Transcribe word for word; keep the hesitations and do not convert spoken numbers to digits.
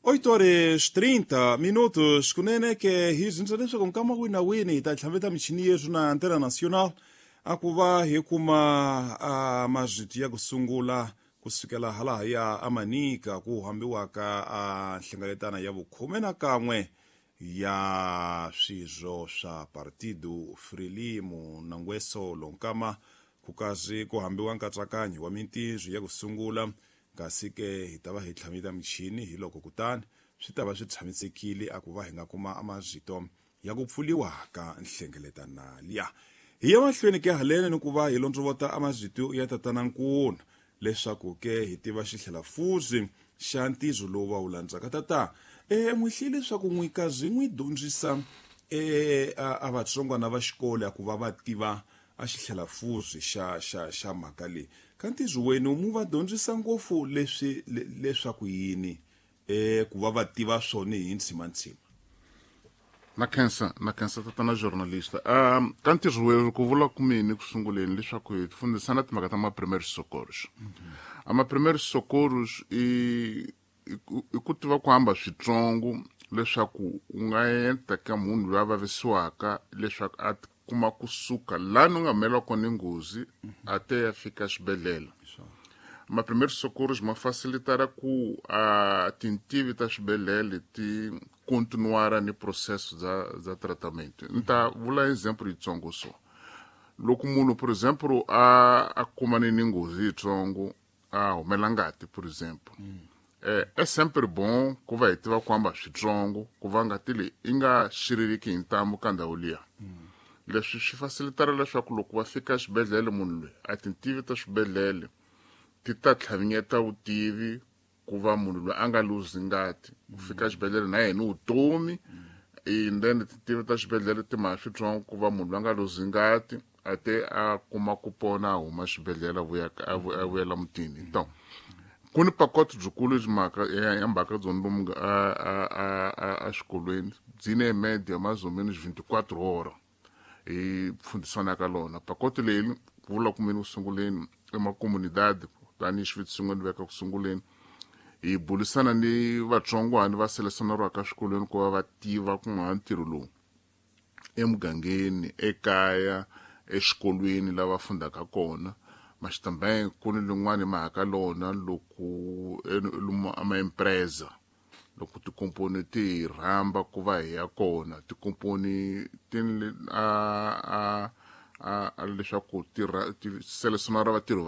oito horas trinta minutos. Kunene ke hi zinza leswaku nkama wini na wini hi ta tlhaveta michini yeswi na Antena Nacional a ku va hi kuma a mazwiti ya ku sungula kusukela hala ya Amanika ku hambiwaka a nhlengeletano ya vukhume na kan'we ya swirho swa Partido Frelimo na Ngwesolo nkama ku kazi ku hambiwa nkatsakanyo wa mintirho ya ku sungula, kasi ke hi ta va hi tlhamita michini hi loko kutani swi ta va swi tshamisekile a ku va hi nga kuma amazito ya ku pfuliwa ka nhlengeletano liya. Hi ya mahlweni ke haleni ni ku va hi londzovota amazito ya tatana Nkuna leswaku ke hi tiva xihlelafuzi xa ntirho lowu va wu landzaka. Tata, e n'wi hlile leswaku n'wi kazi n'wi dyondzisa e a vatsongwana va xikolo ya ku va va tiva a xihlelafuzi xa xa xa mhaka leyi. Ka ntirho wenu mu va dyondzisa ngopfu leswi leswaku yini e ku va va tiva swona hi ntshimantsima? Na khensa, na khensa tatana journalista. Um ka ntirho wenu ku vula ku mini ku sunguleni leswaku hi fundisana timhaka ta ma-primeiros socorros. A ma-primeiros socorros i i ku tiva ku hamba switsongo leswaku u nga endla ka munhu loyi a vavisiwaka leswaku a kuma kusuka lani u nga humeleriwa kona nghozi a te ya fika xibedhlele. Ma-primeiros socorros ma facilitara ku a tintivi ta xibedhlele ti continuara ni processo dza dza tratamento. Ni ta vula example yitsongo so. Loko munhu, por exemplo, a a kumane ni nghozi yitsongo, a humela ngati, por exemplo, eh é sempre bom ku va hi tiva ku hamba switsongo ku va ngati leyi yi nga xiririki hi ntambu ka ndhawu liya. Leswi swi facilitara leswaku loko va fika xibedhlele munhu loyi a tintivi ta swibedhlele ti ta tlhavinyeta vutivi ku va munhu loyi a nga luzi ngati ku fika xibedhlele na yena vutomi, and then tintivi ta xibedhlele ti mha switsongo ku va munhu loyi a nga luzi ngati a te a kuma ku pona a huma xibedhlele a vuya a vuyela mutini. Então ku ni pacote byikulu byi mhaka ya mhaka byo lomu a a a exikolweni byi ne média mais ou menos vinte e quatro horas hi fundisana ka lona. Pacote leyi ku vula ku mini ku sunguleni emacomunidade tanihi xiviti xin'wana veka ku sunguleni hi bulisana ni vatsongwana va selesaneriwaka eswikolweni ku va va tiva ku nga ntirho lowu emugangeni, ekaya, exikolweni lava fundaka kona. Mas também ku ni lin'wani mhaka lona loko lomu ama empresa loko tikomponi ti hi rhamba ku va hi ya kona, tikomponi ti a a a leswaku ti ti selesionara vatirhi.